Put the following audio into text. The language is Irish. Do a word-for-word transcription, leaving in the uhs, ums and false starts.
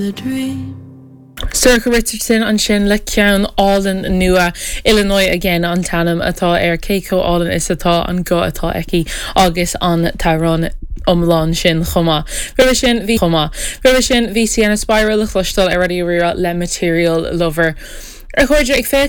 The dream. Sorcha Richardson ansin le ceann álainn nua Illinois again an t-ainm atá air cé chomh hálainn is atá an guth atá aici agus an t-amhrán iomlán sin chomh maith. Roimhe sin bhí chomh maith. Roimhe sin bhí Sienna Spiro le cloisteáil ar Raidió Rí-Rá le Material Lover. A chairde ag féachaint